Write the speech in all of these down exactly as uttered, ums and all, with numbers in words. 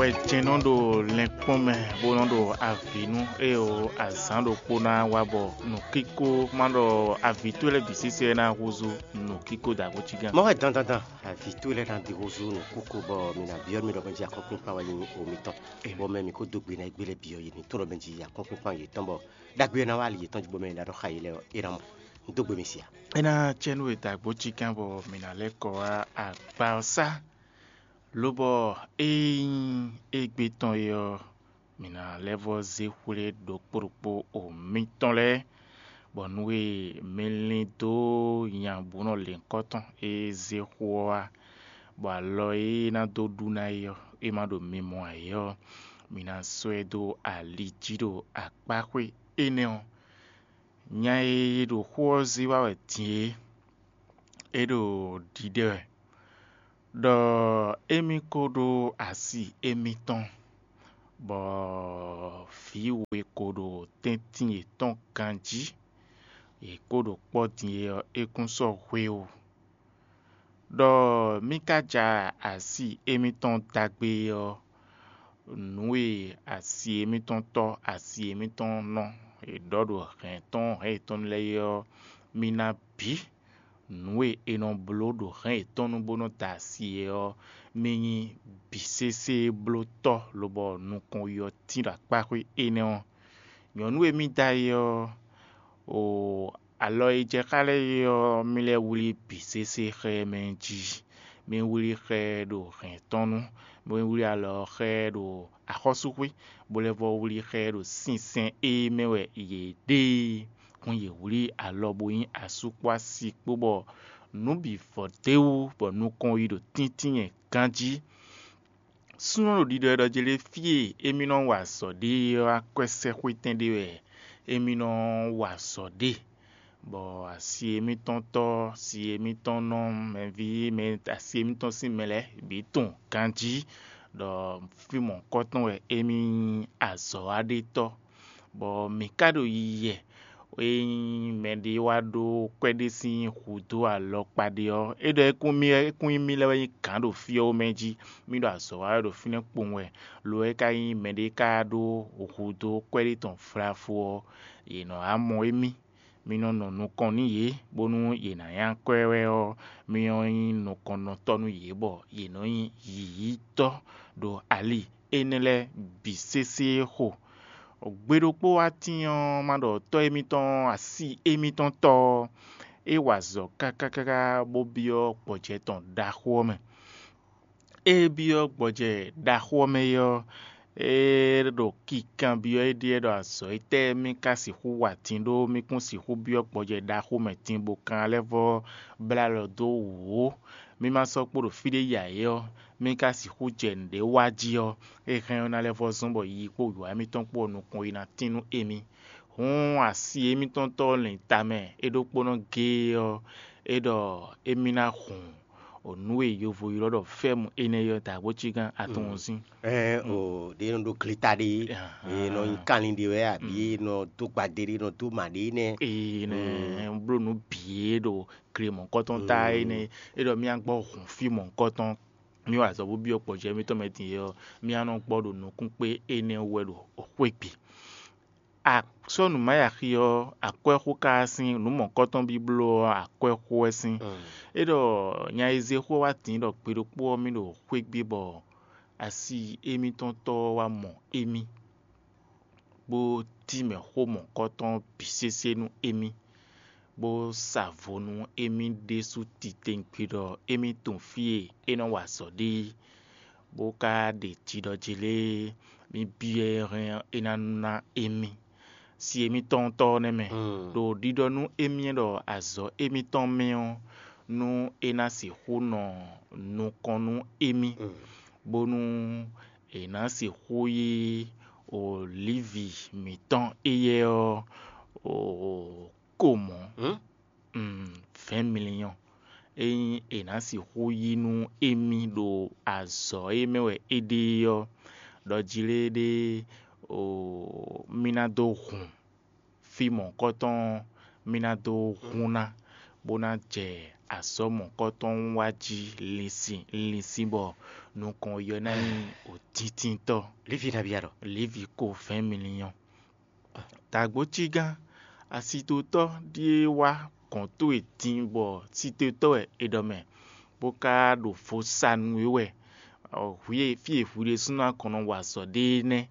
Wɛ jɛ́n nɔ ɖo lɛnkpɔ́n mɛ bó nɔ ɖo avǐ nú ée o azǎn ɖokpó ná wá bɔ nǔkíkó má ɖɔ avǐ towe lɛ́ɛ bǐ sésé ná húzú nǔkíkó dǎgbócígán. Mɔ̌ wɛ dandandan, avǐ towe lɛ́ɛ ná ɖi húzú nǔkíkó bɔ mǐ ná byɔ́ mì ɖɔ mɛ jí akɔ́nkpinkpan wɛ nyí o mitɔn. Bɔ mɛ mǐ kó dó gbe ná égbé lɛ́ɛ byɔ́ yě ní tlɔ́ mɛ jí akɔ́nkpinkpan yětɔn bɔ ɖagbe ɔ́ ná wá ali yětɔn jí bɔ mɛ e ná ɖɔ xá yě lɛ́ɛ ɔ́, é ná mɔ. Un dó gbe mi sia. É ná cɛ nú we dǎgbócígán bɔ mǐ ná lɛ́ kɔ wá akpa ɔ́ sá. Lobɔ ée nyí égbé tɔn é ɔ́, mǐ ná lɛ́ vɔ́ zé xwlé ɖokpó ɖokpó o mitɔn lɛ́ɛ, bɔ nú e mi lin dó nya bǔ nɔ lěhunkɔtɔn e zé xó ɔ́ wá, bɔ alɔ e é ná dó ɖu ná é ɔ́, é má ɖo mimɔ ǎ é ɔ́, mi ná sɔ́ ɛ dó ali jí ɖo akpáxwé énɛ́ ɔ́. Nya e ɖo xó ɔ́ zé wá wɛ din é, é ɖo ɖiɖe wɛ, ɖɔ émí ko ɖó asi émítɔn, bɔ vǐ we ko ɖo tɛ́ntin yětɔn ganjí, yě ko ɖo kpɔ́ din é ɔ́, é kún sɔ́ hwéwu. Ɖɔ mí ka ja asi émítɔn dagbe ɔ́, nǔ e asi émítɔn tɔ́ asi émítɔn nɔ e ɖɔ ɖo hɛ̌n tɔn hɛ̌n yětɔn lɛ́ɛ é ɔ́, mí ná bǐ. Nǔ e è nɔ bló ɖo hɛ̌n yětɔn nu bó nɔ́ da asi é ɔ́, mí nyí bǐ sésé blótɔ́ lobɔ nukɔn yi ɔ́ tín ɖo akpáxwé énɛ́ ɔ́. Nyɔ̌nu e mí da é ɔ́, o alɔ e jɛ xá lɛ́ɛ é ɔ́, mí lɛ́ wlí bǐ sésé xá ɛ mɛ jí. Mí wlí xá ɛ ɖo hɛ̌n tɔn nu, mí wlí alɔ ɔ́ xá ɛ ɖo axɔ́súxwé, bó lɛ́ vɔ́ wlí xá ɛ ɖo sinsɛn e mɛ wɛ yě ɖe é. Hǔn yě wlí alɔ bó nyí asú kpó asi kpó bɔ nǔ bǐ vɔ d'é wú bɔ nukɔn yi ɖo tíntínyɛ ganjí. Súnnu ɖo ɖiɖɔ ɛ ɖɔ jlé fí e émí nɔ wa azɔ̌ ɖe é ɔ́, akwɛ́sɛ́xwétɛn ɖé wɛ émí nɔ wa azɔ̌ ɖe, bɔ asi émítɔn tɔ́, si émítɔn nɔ, mɛví mɛ asi émítɔn sín mɛ lɛ́ɛ bǐ tunwun ganjí ɖɔ fí mɔ̌hunkɔtɔn wɛ émí nyí azɔ̌waɖétɔ́, bɔ mǐ ka ɖo yiyi wɛ. Ényí mɛɖé wá ɖó kwɛ́ ɖé sín hǔ dó alɔkpa ɖé ɔ́, é ɖɔ é kún mì é kún nyí mì lɛ́ɛ wɛ nyí gǎn ɖo fí ɔ́ mɛ jí. Mì ɖo azɔ̌ wa wɛ ɖo fínɛ́ kpowun wɛ, lo ɔ́ é ka nyí mɛɖé ka ɖó hǔ dó kwɛ́ ɖé tɔn flafó ɔ́, yě nɔ wá mɔ émí. Mi nɔ nɔ nukɔn nú yě, bónú yě ná nya kwɛ́ wɛ ɔ́, mi nɔ nyí nukɔnnɔtɔ́ nú yě, bɔ yě nɔ nyí yǐyítɔ́ ɖo ali énɛ́ lɛ́ɛ bǐ sésé xo. Gbe ɖokpó wá tín ɔ́, má ɖɔ tɔ́ émítɔn, asi émítɔn tɔ́ ɔ́, é wa azɔ̌ káká káká bó byɔ́ gbɔjɛ́ tɔn ɖaxó ɔ́ mɛ. É byɔ́ gbɔjɛ́ ɖaxó ɔ́ mɛ é ɔ́, é ɖo kinkanbyɔ́ éɖée ɖɔ azɔ̌ étɛ́ mì ka sixú wa din ɖó mì kún sixú byɔ́ gbɔjɛ́ ɖaxó mɛ din bó kan lɛ́ vɔ́ blá alɔ dó wǔ ó. Mì ma sɔ́ kpo ɖo fí ɖé ya é ɔ́, mì ka sixú jɛ nǔɖé wa jí ɔ́, é hɛn ɔ́ ná lɛ́ vɔ́ zɔ́n bɔ yiyi kpó wǐwá mǐtɔn kpó ɔ́ nukɔn yi ná tín nú émí. Hǔn asi émítɔn tɔ́ lɛn tamɛ é ɖokpónɔ géé ɔ́, é ɖɔ émí ná hun nǔ e yovo ylɔ́ ɖɔ fɛ́mu énɛ́ ɔ́ dǎgbócígán atɔn ɔ́ sín. Ɛ o ɖe nɔ ɖo gleta ɖe, e nɔ nyi kanlin ɖe wɛ abi e nɔ dó gbadé ɖe nɔ dó ma ɖe nɛ. Ee nɛ bló nǔ bǐ e ɖo gle mɔ̌kɔtɔn ta énɛ́, é ɖɔ mì gbɔ hun fí mɔ̌kɔtɔn, mì wa azɔ̌ bó byɔ́ gbɔjɛ́ mítɔn mɛ din é ɔ́, mì nɔ gbɔ ɖo nǔkún kpé énɛ́ wú wɛ ɖo xwé gbe. Sɔ́ nǔ má yi axi ɔ́, akwɛ́xó ka wá sín, nǔ mɔ̌kɔtɔn bí bló ɔ́, akwɛ́xó wɛ sín. É ɖɔ nya e zé xó wá din ɖɔ gbe ɖokpó ɔ́ mì ɖo xwé gbe bɔ asi émítɔn tɔ́ ɔ́ wá mɔ émí, bó cí mɛ xó mɔ̌kɔtɔn bǐ sésé nú émí, bó sa vo nú émí ɖésú titewungbe ɖɔ émí tunwun fí e é nɔ wa azɔ̌ ɖe é, bó ka ɖe jiɖɔjí lé mì byɔ́ ɛ hɛn é ná ná émí. Si émítɔn tɔ́ ɔ́ nɛ́ mɛ, ɖo ɖiɖɔ nú émí ɖɔ azɔ̌ émítɔn mɛ ɔ́, nú é ná sixú nɔ nukɔn nú émí, bónú è nǎ sixú yí olívi mǐtɔn éyɛ́ ɔ́ ko mɔ̌. Vɛ̌ɛn mliyɔn. Ényí è nǎ sixú yí nú émí ɖo azɔ̌ e mɛ wɛ é ɖe é ɔ́, ɖɔ jlé ɖé mì ná dó hun fí mɔ̌hunkɔtɔn ɔ́, mì ná dó hun ná, bó ná jɛ azɔ̌ mɔ̌kɔtɔn wá jí linsin linsin bɔ nukɔn yɔ ná nyí òtíntintɔ́. Lévi ná byɔ́ ɖɔ: Lévi ko vɛ̌ɛn mliyɔn. Dǎgbócígán, asitotɔ́ ɖíe wá gɔ̌n towe din bɔ sitotɔ́ wɛ è ɖɔ mɛ, bó ka ɖo vo sa nú we wɛ. Hwi e fí e hwi ɖésúnɔ a kɔn nɔ wa azɔ̌ ɖe é nɛ́.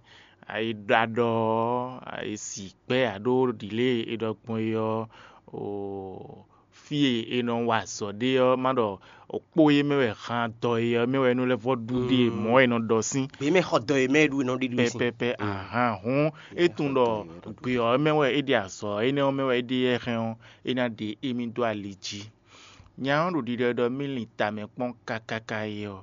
A yi ɖɔ aɖɔ ɔ́, a yi si gbɛ́ aɖó ɖǐlée e ɖɔ gbɔn é ɔ́, oo, fí e è nɔ wa azɔ̌ ɖe ɔ́, má ɖɔ kpó e mɛ wɛ han dɔ e ɔ́ mɛ wɛ é nɔ lɛ́ vɔ́ ɖu ɖe mɔ̌ e nɔ ɖɔ sín. Gbě mɛ xɔ dɔ e mɛ ɖu e nɔ ɖe ɖu sín. Pɛpɛpɛ ahan hǔn é tunwun ɖɔ gbě ɔ́ mɛ wɛ é ɖe azɔ̌ énɛ́ ɔ́ mɛ wɛ é ɖe yɛ́ hɛn ɔ́, é ná ɖe émí dó ali jí. Nya ɔ́ ɖo ɖiɖɔ ɖɔ mí lin tamɛ kpɔ́n kákáká é ɔ́,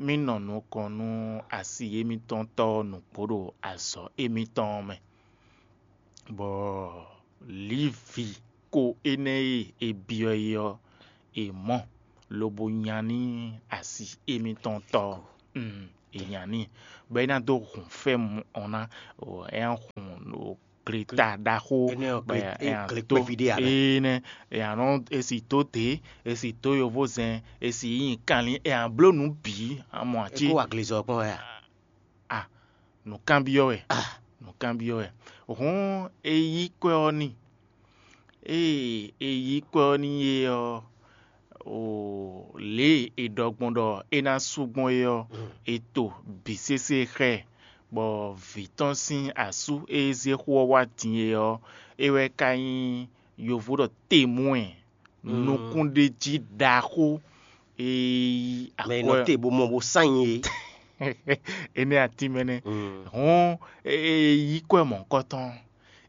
mí nɔ nukɔn nú asi émítɔn tɔ́ ɔ́ nǔgbó ɖo azɔ̌ émítɔn ɔ́ mɛ, bɔ Livi ko énɛ́ e è byɔ́ é ɔ́, è mɔ, lobo nya n'i asi émítɔn tɔ́ ɔ́, mm, è nya n'i, bɔ é ná dó hun fɛ́mu ɔ́ ná, é ná hun gleta ɖaxó, Énɛ́ ɔ́, bɔ gle- é- é ná gle dó kpɛví ɖé ǎ. Énɛ́, é ná nɔ, é si dó dě, é si dó yovózɛn, é si nyi kanlin, é ná bló nǔ bǐ, amɔ É cí. Kó wa glezɔ kpɔ́n wɛ a? A, nǔkanbyɔ́ wɛ. Nǔkanbyɔ́ wɛ. Hǔn é yí kwɛ́ ɔ́ n'i. Ée é yí kwɛ́ ɔ́ n'i é ɔ́, o lě e è ɖɔ gbɔn ɖɔ é ná sú gbɔn é ɔ́, è to bǐ sésé xá ɛ, bɔ vǐ tɔn sín asú e zé xó ɔ́ wá din é ɔ́, é wɛ ka nyí yovo ɖɔ temwɛn nukúnɖéjí ɖaxó e yí Mɛ e nɔ akwɛ́ te bó mɔ bó sán nyi é. Énɛ́ atín mɛ nɛ́. Hǔn é yí kwɛ́ mɔ̌hunkɔtɔn.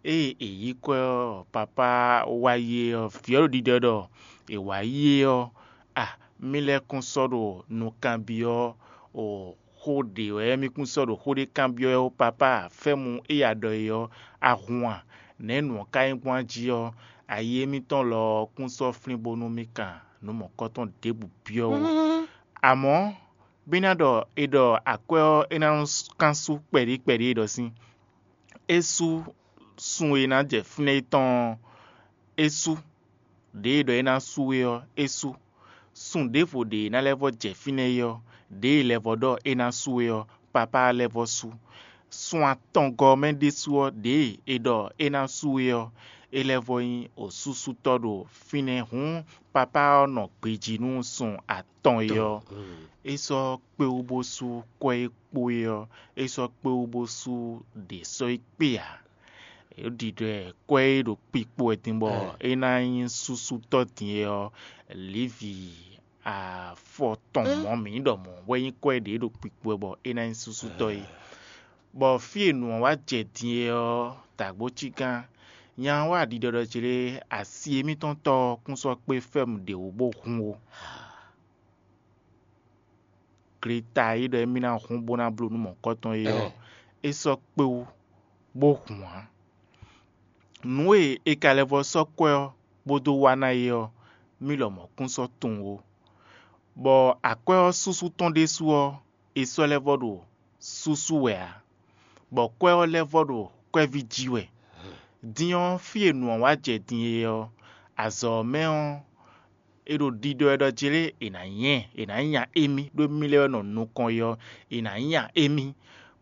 Ée è yí kwɛ́ ɔ́, papá wá yi é ɔ́, vǐ ɔ́ ɖo ɖiɖɔ ɖɔ è wǎ yi é ɔ́, a mì lɛ́ kún sɔ́ ɖo nukánbyɔ́ o xó ɖě wɛ mì kún sɔ́ ɖo xó ɖé kanbyɔ́ ɛ ó, papá, fɛ́mu é ya ɖɔ é ɔ́, a hun a? Nɛ̌ nǔ ɔ́ ka nyí gbɔn a jí ɔ́, ayi émítɔn lɔ ɔ́ kún sɔ́ flín bónú mì kan nǔ mɔ̌kɔtɔn ɖěbǔ byɔ́ ó. Amɔ̌, bí ná ɖɔ è ɖɔ akwɛ́ ɔ́ é ná nɔ kán sú kpɛɖí kpɛɖí é ɖɔ sín. É sú sun e ná jɛ fínɛ́ é tɔn ɔ́, é sú. Ɖěe ɖɔ é ná sú é ɔ́, é sú. Sun ɖěvo ɖě e ná lɛ́ vɔ́ jɛ fínɛ́ é ɔ́, ɖěe lɛ́ vɔ́ ɖɔ é ná sú é ɔ́, papá lɛ́ vɔ́ sú. Sun atɔngɔ́ ɔ́ mɛ ɖésú ɔ́, ɖěe è ɖɔ é ná sú é ɔ́, é lɛ́ vɔ́ nyí osúsútɔ́ ɖo fínɛ́. Hǔn papá ɔ́ nɔ gbejí nú sun atɔn é ɔ́. É sɔ́ kpé wú bó sú kwɛ́ e kpo é ɔ́, é sɔ́ kpé wú bó sú ɖě sɔ́ é kpé ǎ. É ɖiɖɔ ɛ kwɛ́ e ɖo kpikpo wɛ din bɔ é ná nyí súsútɔ́ din é ɔ́, Livi afɔ tɔn mɔ̌ mǐ ɖɔ mɔ̌ wɛ nyí kwɛ́ ɖě ɖo kpikpo wɛ bɔ é ná nyí súsútɔ́ é. Bɔ fí e nǔ ɔ́ wá jɛ din é ɔ́, dǎgbócígán, nya ɔ́ wá ɖiɖɔ ɖɔ jlé asi émítɔn tɔ́ ɔ́ kún sɔ́ kpé fɛ́mu ɖě wú bó hun ó. Gleta e ɖɔ émí ná hun bó ná bló nú mɔ̌kɔtɔn é ɔ́, é sɔ́ kpé wú bó hun ǎ. Nǔ e è ka lɛ́ vɔ́ sɔ́ kwɛ́ ɔ́ bó dó wá ná é ɔ́, mì lɔmɔ̌ kún sɔ́ tunwun ó. Bɔ akwɛ́ ɔ́ súsú tɔn ɖésú ɔ́, è sɔ́ lɛ́ vɔ́ ɖo súsú wɛ ǎ, bɔ kwɛ́ ɔ́ lɛ́ vɔ́ ɖo kwɛ́ví jí wɛ. Din ɔ́, fí e nǔ ɔ́ wá jɛ din é ɔ́, azɔ̌ ɔ́ mɛ ɔ́, è ɖo ɖiɖɔ ɛ ɖɔ jlé è nǎ nyɛ ɛ, è nǎ nya émí, ɖó émí lɛ́ɛ wɛ nɔ nukɔn é ɔ́, è nǎ nya émí,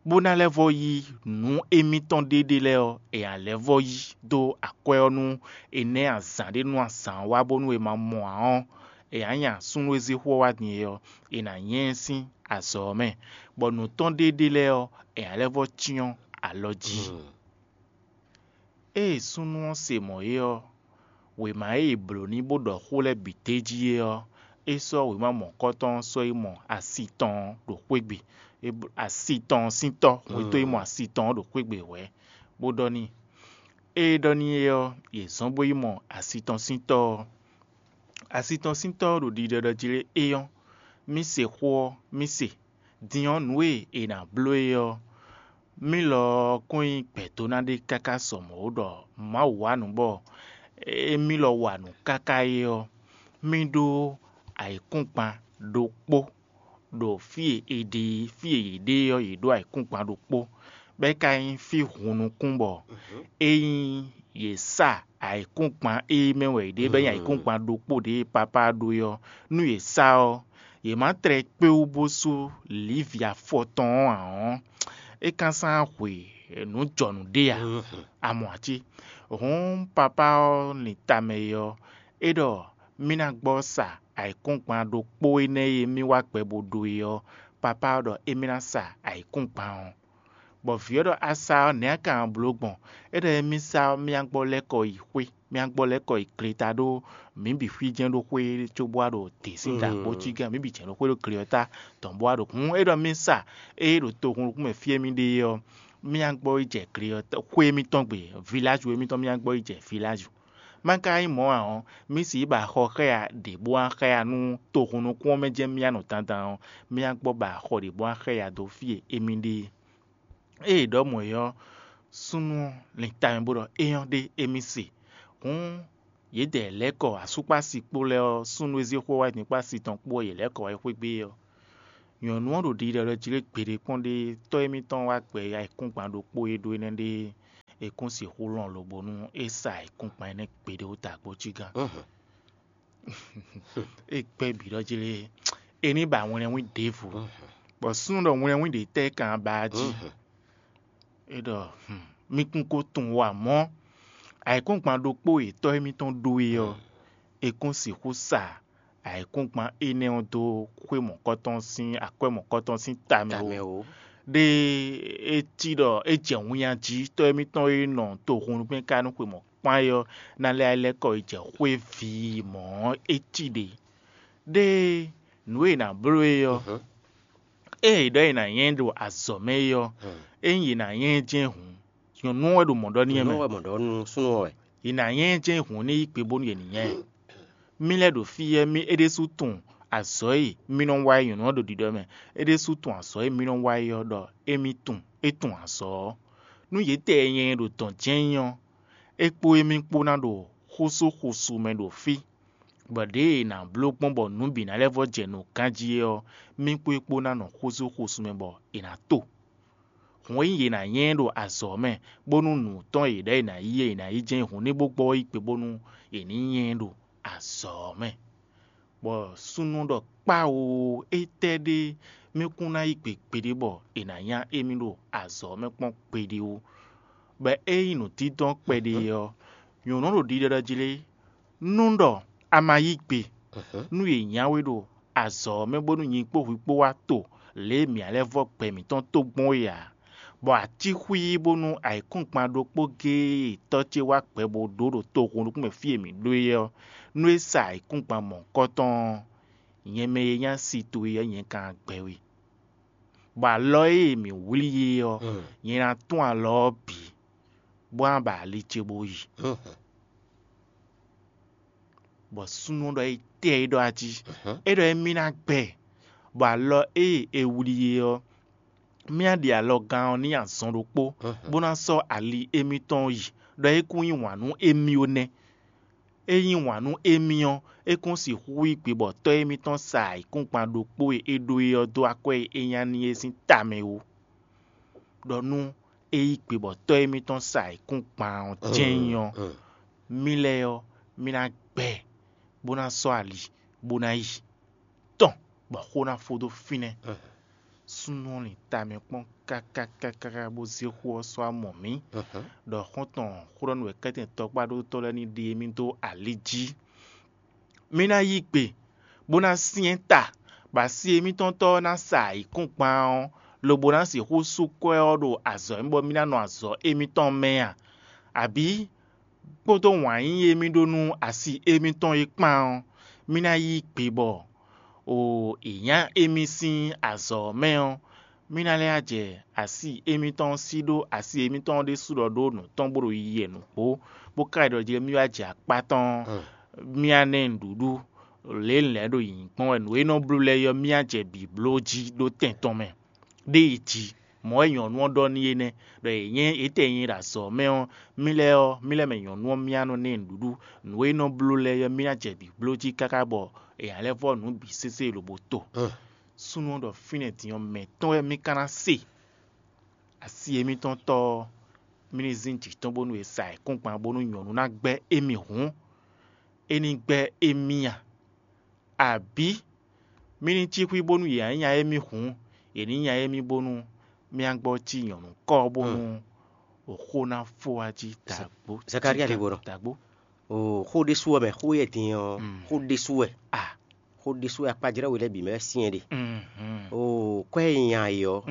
bó ná lɛ́ vɔ́ yí nǔ émítɔn ɖé ɖé lɛ́ɛ ɔ́, è nǎ lɛ́ vɔ́ yí dó akwɛ́ ɔ́ nú è nɛ́ azǎn ɖé nú azǎn ɔ́ wá bónú è ma mɔ ǎ ɔ́, è nǎ nya súnnu e zé xó ɔ́ wá din é ɔ́, è nǎ nyɛ ɛ sín azɔ̌ ɔ́ mɛ, bɔ nǔ tɔn ɖé ɖé lɛ́ɛ ɔ́, è nǎ lɛ́ vɔ́ cyɔ́n alɔ jí. Ée súnnu ɔ́ se mɔ̌ é ɔ́, wěma e è blǒ n'i bó ɖɔ xó lɛ́ɛ bǐ d'é jí é ɔ́, é sɔ́ wěma mɔ̌kɔtɔn ɔ́ sɔ́ yi mɔ asi tɔn ɔ́ ɖo xwé gbe. É bló asi tɔn ɔ́ sín tɔ́, hwetɔ́ yi mɔ asi tɔn ɔ́ ɖo xwé gbe wɛ̌, bó ɖɔ n'i. Ée é ɖɔ n'i é ɔ́, yě zɔ́n bó yi mɔ asi tɔn sín tɔ́ ɔ́. Asi tɔn sín tɔ́ ɔ́ ɖo ɖiɖɔ ɖɔ jlé éyɔ́, mì se xó ɔ́, mì se. Din ɔ́, nǔ e è nǎ bló é ɔ́, mì lɔ ɔ́ kún nyí gbɛ̌dóná ɖé káká sɔ mɔ̌ ó ɖɔ Mawu wa nǔ bɔ émí lɔ wa nǔ káká é ɔ́, mì ɖó ayǐkúngban ɖokpó ɖo fí e è ɖe e fí e yě ɖe ɔ́, yě ɖó ayǐkúngban ɖokpó, bɔ é ka nyí fí hun nukún bɔ é nyí yě sa ayǐkúngban e mɛ wɛ yě ɖe bɔ é nyí ayǐkúngban ɖokpó ɖě e papá ɖó é ɔ́, nú yě sá ɔ́, yě má tlɛ kpé wú bó sú lǐvi afɔ tɔn ɔ́ ǎ ɔ́, é ka sán hwe nǔ jɔnǔ ɖé ǎ. A mɔ a cí? Hǔn papá ɔ́ lin tamɛ e ɔ́, é ɖɔ mì ná gbɔ sa ayǐkúngban ɖokpó énɛ́ e mì wá gbɛ bó ɖó é ɔ́, papá ɔ́ ɖɔ émí ná sa ayǐkúngban ɔ́. Bɔ vǐ ɔ́ ɖɔ a sa ɔ́, nɛ̌ a ka nɔ bló gbɔn? É ɖɔ émí sa ɔ́, mì ná gbɔ lɛ́ kɔ yi xwé, mì ná gbɔ lɛ́ kɔ yi gleta ɖó mǐ bǐ xwí jɛ́n ɖó xwé cóbó wá ɖo dě sín dǎgbó cí gán, mǐ bǐ jɛ́n ɖó xwé ɖó gle ɔ́ tá dɔn bó wá ɖo hǔn é ɖɔ mì sa ée ɖo tohunnukún mɛ fí e mì ɖe é ɔ́, mì ná gbɔ yi jɛ gle ɔ́ xwé émítɔn gbe, viláju émítɔn mì ná gbɔ yi jɛ viláju. Má ka nyí mɔ̌ ǎ ɔ́, mì sixú ba xɔ xɛ́ya ɖě bó wá xɛ́ya nú tohunnukún ɔ́ mɛ jɛ́n mì ná nɔ dandan ɔ́, mì ná gbɔ ba xɔ ɖě bó wá xɛ́ya dó fí e émí ɖe é. Ée è ɖɔ mɔ̌ é ɔ́, súnnu ɔ́ lin tamɛ bó ɖɔ é nyɔ́ ɖé émí se. Hǔn yědɛɛ lɛ́ kɔ asúkpási kpó lɛ́ɛ ɔ́, súnnu e zé xó wá nyǐkɔ́ asi tɔn kpó ɔ́, yě lɛ́ kɔ wá yi xwé gbé ɔ́. Nyɔ̌nu ɔ́ ɖo ɖiɖɔ ɖɔ jí lé gbeɖé kpɔ́n ɖé tɔ́ émítɔn wá gbɛ ayǐkúngban ɖokpó e ɖó énɛ́ ɖé é kún sixú lɔn lobo nú é sa ayǐkúngban énɛ́ gbeɖé wú dǎgbó cí gán. É gbɛ́ bǐ ɖɔ jí lé é ní ba wlɛnwín ɖěvo, bɔ súnnu ɖɔ wlɛnwín ɖě tɛ́ kan ba jí. É ɖɔ mì kún ko tunwun wá mɔ̌, ayǐkúngban ɖokpó e tɔ́ émítɔn ɖó é ɔ́, è kún sixú sa ayǐkúngban énɛ́ ɔ́ dó xwé mɔ̌kɔtɔn sín akwɛ́ mɔ̌kɔtɔn sín ta mɛ ó. Ɖé é cí ɖɔ é jɛ winnyá jí tɔ́ émítɔn e nɔ tohunnukpɛ́n ka nú xwe mɔ̌ kpán é ɔ́ ná lɛ́ lɛ́ kɔ yi jɛ xwé vǐ mɔ̌ ɔ́, é cí ɖě. Ɖé nǔ e è nǎ bló é ɔ́, ée è ɖɔ è nǎ nyá ɛ ɖo azɔ̌ mɛ é ɔ́, ényí è nǎ nyá ɛ jɛ́n hǔn, nyɔ̌nu ɔ́ wɛ ɖo mɔ̌ ɖɔ n'i wɛ mɛ. Nǔ wɛ mɔ̌ ɖɔ nú súnnu ɔ́ wɛ. È nǎ nyá ɛ jɛ́n hǔn ní yí gbe bónú yě ní nyá ɛ. Mì lɛ́ ɖo fí ɔ́, mì é ɖésú tunwun azɔ̌ e mì nɔ wa é nyɔ̌nu ɔ́ ɖo ɖiɖɔ mɛ. É ɖésú tunwun azɔ̌ e mì nɔ wa é ɔ́ ɖɔ émí tunwun, é tunwun azɔ̌ ɔ́. Nú yětɛɛ nyɛ e ɖo dɔ̌n jɛ́n nyí ɔ́, é kpó émí kpó ná ɖo xúsúxusu mɛ ɖo fí, bɔ ɖěe è nǎ bló gbɔn bɔ nǔ bǐ ná lɛ́ vɔ́ jɛ nǔ ganjí é ɔ́, mì kpó é kpó ná nɔ xúsúxusu mɛ bɔ è nǎ to. Hǔn ényí yě ná nyá ɛ ɖo azɔ̌ mɛ, bónú nǔ tɔn e yě ɖɔ è nǎ yí é è nǎ yí jɛ́n hǔn ní bó gbɔ yi gbe bónú è ní nyá ɛ ɖo azɔ̌ mɛ. Bɔ súnnu ɖɔ kpáwo, étɛ́ ɖé mì kún ná yí gbe gbeɖé bɔ è nǎ nyá émí ɖo azɔ̌ mɛ kpɔ́n gbeɖé ó. Bɔ ényí nǔdídɔ́n kpɛɖé ɔ́, nyɔ̌nu ɖo ɖiɖɔ jí lé, nú ɖɔ a ma yí gbe, nú yě nyá we ɖo azɔ̌ ɔ́ mɛ bónú nyi kpó hwi kpó wá to lě e mǐ ná lɛ́ vɔ́ gbɛ mǐtɔn tó gbɔn é ǎ, bɔ a cí xwí bónú ayǐkúngban ɖokpó géé e tɔ́ ce wá gbɛ bó ɖó ɖo tohunnukún mɛ fí e mǐ ɖó é ɔ́, nú é sa ayǐkúngban mɔ̌hunkɔtɔn ɔ́, nyɛ mɛ e nyí asi towe ɔ́, nyɛ ka ná gbɛ we. Bɔ alɔ e mǐ wlí é ɔ́, nyɛ ná tún alɔ ɔ́ bǐ, bó ná ba ali ce bó yi. Bɔ súnnu ɔ́ ɖɔ étɛ́ é ɖɔ a jí? É ɖɔ émí ná gbɛ, bɔ alɔ e è wlí é ɔ́, mì ná ɖe alɔgán ɔ́ n'i azɔn ɖokpó, bó ná sɔ́ ali émítɔn yi, ɖɔ é kún yí wǎn nú émí ó nɛ́. É yí wǎn nú émí ɔ́, é kún sixú yí gbe bɔ tɔ́ émítɔn sa ayǐkúngban ɖokpó e é ɖó é ɔ́ dó akwɛ́ e é nya n'i é sín ta mɛ ó. Ɖɔ nú é yí gbe bɔ tɔ́ émítɔn sa ayǐkúngban ɔ́ jɛ́n nyí ɔ́, mì lɛ́ɛ ɔ́, mì ná gbɛ, bó ná sɔ́ ali, bó ná yi tɔn, bɔ xó ná fó dó fínɛ́. Súnnu ɔ́ lin ta mɛ kpɔ́n káká káká bó zé xó ɔ́ sɔ́ amɔ mǐ, ɖɔ xɔ́ntɔn xóɖɔ́nú wɛ kɛ́tɛn tɔkpá ɖótɔ́ lɛ́ɛ ní ɖe émí dó ali jí. Mì ná yí gbe, bó ná syɛ́n ta, bɔ asi émítɔn tɔ́ ɔ́ ná sa ayǐkúngban ɔ́, lobo ná sixú sú kwɛ́ ɔ́ ɖo azɔ̌ mɛ bɔ mì ná nɔ azɔ̌ émítɔn mɛ a? Abǐ kpódó wǎn yíyí e mì ɖó nú asi émítɔn é kpán ɔ́, mì ná yí gbe bɔ o è nyá émí sín azɔ̌ ɔ́ mɛ ɔ́, mì ná lɛ́ jɛ asi émítɔn sí ɖó asi émítɔn ɖésú ɖɔ ɖó nǔ tɔn bó ɖo yiyi wɛ nǔgbó, bó ka yi ɖɔ jí mì wá jɛ akpá tɔn, mì wá ná ɛ nǔɖuɖu, lě e un lɛ̌ ɖo yǐyí kpɔ́n wɛ nǔ e nɔ bló lɛ́ɛ ɔ́, mì wá jɛ bǐ bló jí ɖó tɛn tɔn mɛ. Ɖé yi jí, mɔ̌ wɛ nyɔ̌nu ɔ́ ɖɔ n'i é nɛ́, ɖɔ è nyɛ étɛ́ nyɛ ɖo azɔ̌ mɛ ɔ́, mì lɛ́ɛ ɔ́, mì lɛ́ɛ mɛ nyɔ̌nu ɔ́ mì wá nɔ ná ɛ nǔɖuɖu, nǔ e nɔ bló lɛ́ɛ ɔ́, mì ná jɛ bǐ bló jí káká bɔ è nǎ lɛ́ vɔ́ nǔ bǐ sésé lobo to. Súnnu ɔ́ ɖɔ fínɛ́ din ɔ́, mɛ̌ tɔn wɛ mì ka ná se? Asi émítɔn tɔ́ ɔ́, Mì ní zín jǐ tɔn bónú è sa ayǐkúngban bónú nyɔ̌nu ná gbɛ́ émí hǔn, é ní gbɛ́ émí a? Abǐ mì ní cí xwí bónú yě ná nya émí hǔn, yě ní nya émí bónú mì ná gbɔ cí nyɔ̌nu kɔ́ bónú xó ná fó wá jí dǎgbó. Zakalía lí bo nɔ. Dǎgbó. O xó ɖésú wɛ mɛ, xó yɛ din ɔ́, xó ɖésú wɛ. A xó ɖésú wɛ akpajlɛ́ we lɛ́ɛ bǐ mɛ wɛ syɛ́n ɖe. O kwɛ́ e nya e ɔ́,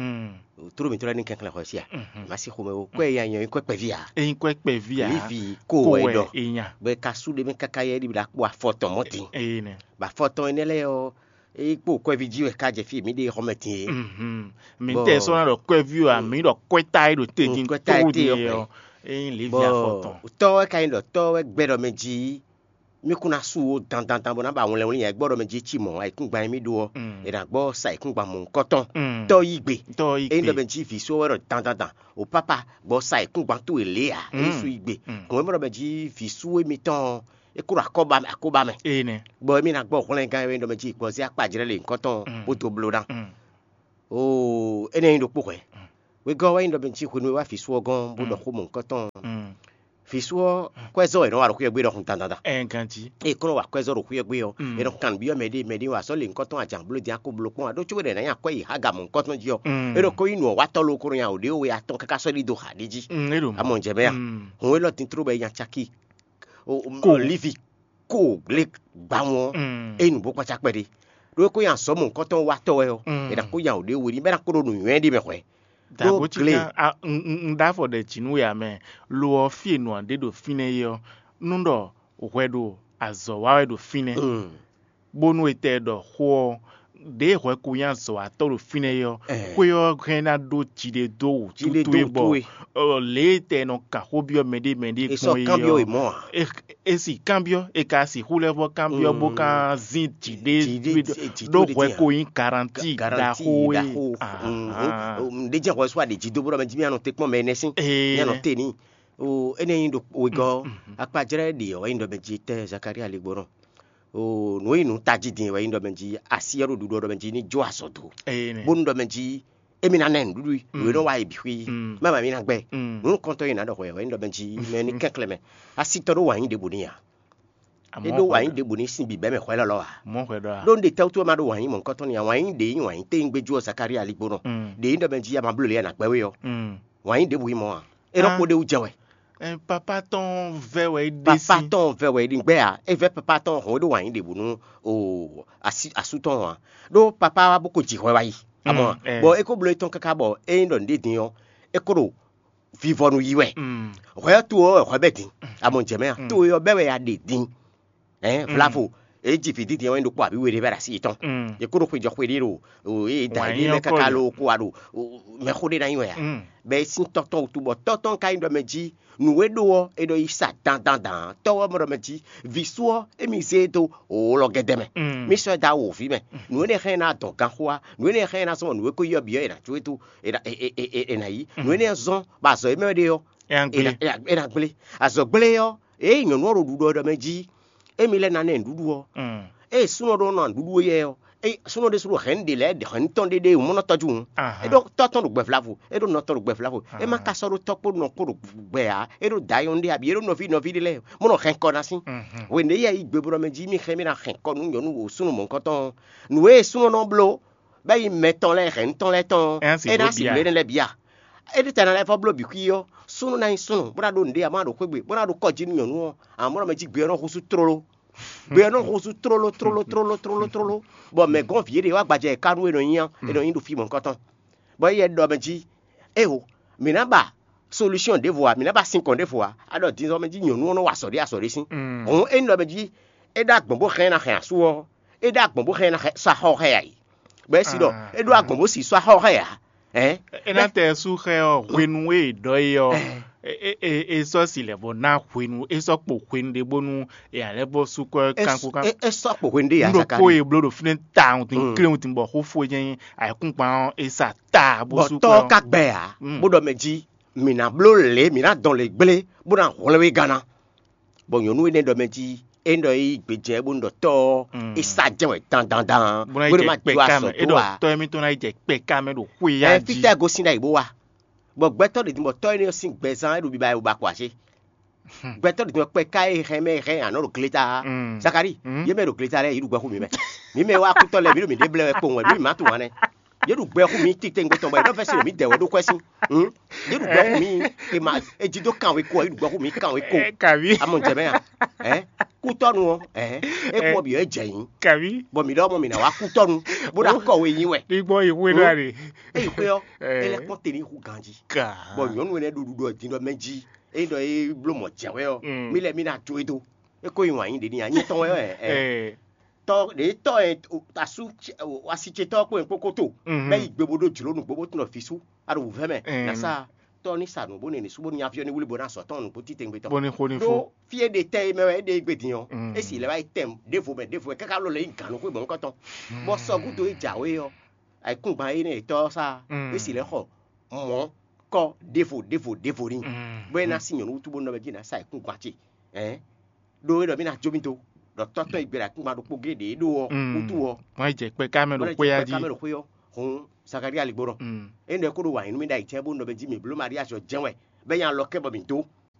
tló mǐtɔn lɛ́ɛ ní kɛnklɛ́n xɔ sí a? Má sí xomɛ o, kwɛ́ e nya e ɔ́ nyí kwɛ́ kpɛví a? Ényí kwɛ́ kpɛví a? Lívi kó wɛ ɖɔ. Bɔ è ka sú ɖé mɛ káká yɛ ɖi ɖa kpó afɔ tɔn mɔ̌ din. Bɔ afɔ tɔn énɛ́ lɛ́ɛ ɔ́, é kpó kwɛ́ví jí wɛ ká jɛ fí e mǐ ɖe xɔmɛ din é. Mǐ tɛ sɔ́ ná ɖɔ kwɛ́ví ɔ́, mǐ ɖɔ kwɛ́ta e ɖo te din kwɛ́ta e tló te din ɔ́ é ɔ́, é nyí Levi afɔ tɔn. Tɔ́ wɛ ka nyí ɖɔ tɔ́ wɛ gbɛ́ ɖɔ mɛ jí mí kún ná sú wo dandandan bó ná ba wlɛnwlin yɛ gbɔ ɖɔ mɛ jí cí mɔ̌ ayǐkúngban e mí ɖó ɔ́, è nǎ gbɔ sa ayǐkúngban mɔ̌hunkɔtɔn. Tɔ́ yí gbe. Tɔ́ yí ényí ɖɔ gbe. Mɛ jí vǐ só wɛ ɖɔ dandandan, o pápá gbɔ sa ayǐkúngban towe lě ǎ, é sú yí gbe. Hɔn e mɔ ɖɔ mɛ jí vǐ sú émítɔn ɔ́, é kó ɖo akɔ́ba mɛ akóbá mɛ. Ée nɛ́. Bɔ émí ná gbɔ hwlɛngán e wɛ nyí ɖɔ mɛ jí gbɔzé akpajlɛ́ le nyǐkɔtɔn bó dó bló ná. Oo, énɛ́ nyí ɖokpó hwɛ̌. Wegɔ́ ɔ́ wɛ nyí ɖɔ mɛ jí hwenu e wá vǐ sú ɔ́ gɔ́n bó ɖɔ xó mɔ̌hunkɔtɔn. Vǐ sú ɔ́, kwɛ́zɔ́ wɛ è nɔ wa ɖo xwé ɔ́ gbé ɖɔhun dandan. Ɛn ganjí. Ée kɔn nɔ wa kwɛ́zɔ́ ɖo xwé ɔ́ gbé ɔ́, è nɔ kan nǔbyɔ́ mɛɖé mɛɖé wá sɔ́ le nyǐkɔtɔn ajan bló din a ko bló kpɔ́n ǎ ɖó có wɛ ɖɔ è nǎ nyi akwɛ́ yi Haga mɔ̌hunkɔtɔn jí ɔ́, é ɖo ko nyí nǔ ɔ́ wa tɔ́ lókɔ́ nɔ nya wǒ ɖé we atɔn káká sɔ́ ɖi dó xa ɖé jí. É ɖo mɔ̌. Amɔ jɛ mɛ a? Hǔn élɔ́ din tló bɔ é nya caki. Ko. Lívi ko lě gbawun ɔ́, é nǔ bó kpácá kpɛɖé. Ɖó é kó nyi azɔ̌ mɔ̌hunkɔtɔn wa tɔ́ wɛ ɔ́, è nǎ kó nya wǒ ɖé we ní bɔ é ná kó ɖo nǔnywɛ́ ɖé mɛ hwɛ̌. Dǎgbó cí gle. Kan un ɖó afɔ ɖɛ jǐ nú we ǎ mɛ. Lo ɔ́, fí e nǔ ɔ́ ɖe ɖo fínɛ́ é ɔ́, nú ɖɔ hwɛ ɖo azɔ̌ wa wɛ ɖo fínɛ́, bónú è tɛ ɖɔ xó ɔ́, ɖěe hwɛ ko nyí azɔ̌watɔ́ ɖo fínɛ́ é ɔ́, xwé ɔ́ hɛn ná ɖó jiɖe dó wǔtútú é bɔ lě e tɛ nɔ kan xó byɔ́ mɛɖé mɛɖé gbɔn é ɔ́, é si kanbyɔ́, è ka sixú lɛ́ vɔ́ kanbyɔ́ bó ka zín jǐɖé ɖó hwɛ ko nyí garanti ɖaxó é. Ɖé jɛ hwɛ sú aɖě jí dó bó ɖɔ mɛ jí mì anɔ te kpɔ́n mɛ énɛ́ sín, mì anɔ te n'i. O énɛ́ nyí ɖo wegɔ́ ɔ́, akpajlɛ́ ɖě ɔ́ wɛ nyí ɖɔ mɛ jí tɛ́ Zakalía lí gbɔn nɔ. O nǔ e nyí nǔ tají din wɛ nyí ɖɔ mɛ jí así ɔ́ ɖo ɖuɖu ɔ́ ɖɔ mɛ jí ní jó azɔ̌ dó, bónú ɖɔ mɛ jí émí ná ná ɛ nǔɖuɖu nǔ e nɔ́ wa yi bǐ xwí, má ba mí ná gbɛ. Nǔ nukɔntɔn e ná ɖɔ hwɛ wɛ nyí ɖɔ mɛ jí mɛ ní kɛnklɛ́n mɛ. Asítɔ́ ɖó wǎn yí ɖěbǔ n'i ǎ. É ɖó wǎn yí ɖěbǔ n'i sín bǐbɛ́ mɛ hwɛ́ lɔ́lɔ́ ǎ. Mɔ̌ hwɛ ɖɔ a? Ɖó un ɖe tɛ́wútu wɛ má ɖó wǎn yí mɔ̌hunkɔtɔn n'i ǎ, wǎn yí ɖě nyí wǎn yí téyín gbé jú ɔ́ Zakalía lí gbónɔ. Ɖě nyí ɖɔ mɛ jí a ma bló lě e a nǎ gbɛ́ we ɔ́, wǎn yí ɖěbǔ nyí mɔ̌ ǎ. É nɔ kpó ɖ'é wú jɛ wɛ. Ɛn, papá tɔn vɛ wɛ é ɖe papá sín. Tɔn vɛ wɛ é ɖi gbɛ ǎ. É vɛ papá tɔn hɔn é ɖó wǎn yí ɖěbǔ nú o asú tɔn ǎ. Ɖó papá wá bó ko ji hwɛ wá yi. Amɔ bɔ é ko bló étɔn káká bɔ é nyí ɖɔ nǔɖé din ɔ́, é ko ɖo vivɔnu yí wɛ. Hwɛ ɔ́ to ɔ́ wɛ hwɛ bɛ din. Amɔ jɛ mɛ a to ɔ́ bɛ wɛ a ɖe din. Ɛn vlavo, é ji vǐ dídí ɔ́ wɛ ɖokpó abǐ we ɖé vɛ ɖo así yětɔn. Yě kó ɖo xwejɔ xwe ɖé ɖo o é da Wǎn yí ɖé lɛ́ ɔ́ kɔ káká lě. Ló kó wa ɖo mɛxó ɖé ná nyi wɛ a? Bɔ é sín tɔ́ tɔn wútu bɔ tɔ́ tɔn ka nyí ɖɔ mɛ jí nǔ e ɖó ɔ́, é ɖɔ yi sa dandan dan. Tɔ́ ɔ́ mɔ ɖɔ mɛ jí vǐ sú ɔ́, émí zé e dó wǒ lɔ gɛ́dɛ́ mɛ. Mí sɔ́ ɛ dó awu wǒví mɛ. Nǔ énɛ́ hɛn ná dɔn ganxó wá. Nǔ énɛ́ hɛn ná zɔ́n nǔ e ko yí ɔ́ bǐ ɔ́, è nǎ jó e dó è nǎ zɔ́n bɔ azɔ̌ e mɛ wɛ ɖe ɔ́, Ɛ ná gblé. È nǎ gblé. Azɔ̌ gblé ɔ́, ée nyɔ̌nu ɔ́ ɖo ɖuɖu ɔ́ ɖɔ mɛ jí émi lɛ́ ná nɛ nǔɖuɖu ɔ́, ée súnɔ ɖó nɔ nǔɖuɖu éyɛ́ ɔ́, é súnɔ ɖésú ɖo hɛ̌nnu ɖe lɛ́ɛ hɛ̌nnu tɔn ɖé ɖe mɔ́ nɔ tɔ́jú hǔn. É ɖó tɔ́ tɔn ɖo gbɛvlavo, é ɖó nɔ tɔn ɖo gbɛvlavo. É má ka sɔ́ ɖó tɔ́ kpó nɔ kpó ɖo gbɛ ǎ, é ɖó dǎ nyɔ́nu ɖé abǐ é ɖó nɔví nɔví ɖé lɛ́ɛ mɔ́ nɔ hɛn kɔ ná sín. Hwenu e yɛ yi gbe bó ɖɔ mɛ jí mì xɛn mì ná hɛn kɔ nú nyɔ̌nu wo súnnu mɔ̌hunkɔtɔn, nǔ e súnɔ nɔ bló bɔ é nyí mɛ tɔn lɛ́ɛ hɛ̌nnu tɔn lɛ́ɛ tɔn ɔ́, É ná sixú é ná bia. Sixú énɛ́ lɛ́ɛ bia. É ɖi tɛ ná lɛ́ vɔ bló bǐ xwí ɔ́, súnnu ná nyí súnnu, bó ná ɖó nǔɖé ǎ, má ɖo xwé gbe, bó ná ɖo kɔ́ jí nú nyɔ̌nu ɔ́, amɔ̌ mɛ jí gbe ɔ́ nɔ húzú tlóló. Gbe ɔ́ nɔ húzú tlóló tlóló tlóló tlóló tlóló. Bɔ mɛ gɔ́n vǐ éɖée wá gbajɛ e ká nú é nɔ nyí ɔ́, é nɔ nyí ɖo fí mɔ̌hunkɔtɔn. Bɔ éyɛ́ ɖɔ mɛ jí, éeho, mǐ ná ba solúsyɔn ɖěvo ǎ, mǐ ná ba sinkɔn ɖěvo ǎ, á ɖɔ din ɔ́ mɛ jí nyɔ̌nu ɔ́ nɔ wa azɔ̌ ɖé azɔ̌ ɖé sín. Hǔn é nɔ mɛ jí é ɖó agbɔ̌n bó hɛn ná hɛn asú ɔ́, é ɖó agbɔ̌n bó hɛn ná sɔ́ axɔ́ xá ɛ ǎ. Bɔ é si ɖɔ é ɖó agbɔ̌n bó si sɔ́ axɔ́ xá ɛ ǎ. Ɛ̌? É ná tɛ sú xɛ ɔ́ hwenu e è ɖɔ é ɔ́, é é é é sɔ́ si lɛ̌ bɔ ná hwenu, é sɔ́ kpo hwenu ɖé bónú è nǎ lɛ́ bɔ sú kɔ É kanko s- kán. É é sɔ́ kpo hwenu ɖé yǎ Nɖokpó Zakalí. E bló ɖo fínɛ́ ta wuntun klé wuntun bɔ xó fó jɛ́n ayǐkúngban ɔ́ é sa ta bó Bɔ sú tɔ́ kɔ ɔ́ ka gbɛ ǎ, Mm. bó ɖɔ mɛ jí mǐ ná bló lě, mǐ ná dɔn lě gblé, bó ná hwlɛ́n we gánná. Bɔ nyɔ̌nu énɛ́ ɖɔ mɛ jí é ɖɔ é gbejɛ bónú ɖɔ tɔ́ ɔ́, Mm. é sa jɛ wɛ dandandan, Bó ná yi bónú jɛ má kpɛ jó ká azɔ̌ mɛ, é dó ɖɔ ǎ. Tɔ́ émítɔn ná yi jɛ kpɛ ká mɛ ɖo xwé ya Ɛ jí. Fítɛ́ gosín ɖ'ayǐ bó wá. Bɔ gbɛtɔ́ ɖě din bɔ tɔ́ énɛ́ ɔ́ sín gbɛzán é ɖo biba wɛ wobakɔ ǎ cé? Gbɛtɔ́ ɖě din bɔ kpɛ ká e hɛn mɛ hɛn anɔ̌ ɖo gleta ǎ. Zakari, yě mɛ ɖo gleta lɛ́ɛ yě ɖu gbɛ xú mǐ mɛ. Mǐ mɛ wá kútɔ́ lɛ́ɛ mǐ ɖo mǐ ɖě blɛ́ wɛ kpowun wɛ, mǐ mǐ má tunwun ǎ nɛ́. Yě ɖu gbɛ xú mǐ titewungbe tɔn bɔ è nɔ vɛ́ sin ɖo mǐ dɛ wɛ ɖó kwɛ́ sín. Hǔn, yě ɖu gbɛ xú mǐ, è ma, è jí dó kan wé kó ɔ́, yě ɖu gbɛ xú mǐ kan wé kó. Kaví. A mɔ jɛ mɛ a? Ɛ̌, kútɔ́nu ɔ́, ɛ̌, é kú ɔ́ bǐ wɛ jɛ nyǐ. Kaví. Bɔ mǐ ɖɔ mɔ mǐ ná wá kútɔ́nu, bó ná kɔ we nyi wɛ. Ní gbɔn yi xwé ɖó a ɖe. É yi xwé ɔ́, é lɛ́ kpɔ́n te ní hu ganjí. Ka. Bɔ nyɔ̌nu énɛ́ ɖo ɖuɖu ɔ́ din ɖɔ mɛ jí, é ɖɔ é bló mɔ̌ jɛ wɛ ɔ́, mí lɛ́ mí ná jó e dó. É ko nyi wǎn nyi ɖě n'i nya nyitɔn wɛ ɔ́, ɛ, ɛ. Tɔ́ ɖě tɔ́ ɛ asú, asi ce tɔ́ kpó nyɛ kpókó to, bɛ́ yi gbe bó ɖó jlǒ nǔgbó bó tunɔ vǐ sú, a ɖo wǔvɛ́ mɛ, ná sa tɔ́ ní sa nǔ bó nɛ́ nǐ sú bó ní avyɔ́ ní wlí bó ná sɔ́ tɔn nǔgbó títɛngbé tɔn. Bó ní xo ní fó. Ɖó fí e ɖe tɛ e mɛ wɛ é ɖe gbe din ɔ́, é sì lɛ́ wá yi tɛn ɖěvo mɛ ɖěvo mɛ káká lɔ lɛ́ yi gǎn nú xwé mɔ̌hunkɔtɔn. Bɔ sɔgúdo e jǎwe ɔ́, ayǐkúngban énɛ́ yětɔ́ ɔ́ sá, é sì lɛ́ xɔ mɔ̌ kɔ ɖěvo ɖěvo ɖěvo n'i, bɔ é ná sín nyɔ̌nu wútu bó nɔ mɛ jí ná sa ayǐkúngban ce. Ɛ̌n, ɖó é ɖɔ mì ná jó mì dó, ɖɔ tɔ́ tɔn e gbé ɖo ayǐkúngban ɖokpó géé ɖě é ɖó ɔ́ wútu ɔ́, Wọ́n yi jɛ kpɛ ká mɛ ɖo bɔ é xwé ná ɔ́ jɛ jí. Kpɛká mɛ ɖo xwé ɔ́, hǔn Zakalía ligbó nɔ. Mm. É ɖɔ é kó ɖo wǎn yí nú mì ɖ'ayǐ cɛ́ bó nɔ mɛ jí mǐ bló Maríazi ɔ́ jɛ́n wɛ, bɔ é nya lɔ kɛ bɔ mǐ dó,